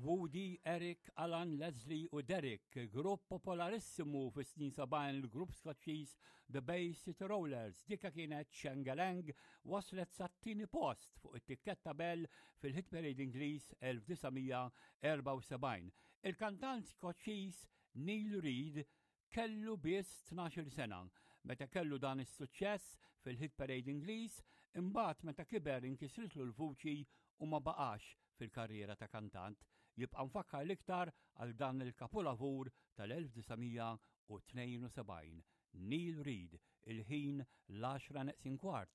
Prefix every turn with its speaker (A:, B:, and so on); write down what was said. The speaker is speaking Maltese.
A: Woody, Eric, Alan, Leslie u Derek, grupp popolarissimu fis-snin 70 il-grupp Skoċċiż The Bay City Rollers. Dika kienet Shangalang waslet sat-tieni post fuq it-tikketta Bell fil-Hit Parade Ingliż 1974. Il-kantant Skoċċiż Neil Reid Kellu biss 12-il sena meta kellu dan is-suċċess fil-Hit Parade Ingliż, imbagħad meta kiber inkisritlu l-vuċi u ma baqax fil-karriera ta' kantant. Jibqa' mfakkar l-iktar għal dan il-kapulavur tal-1972. Neil Reid, il-ħin l-għaxra neqsin kwart.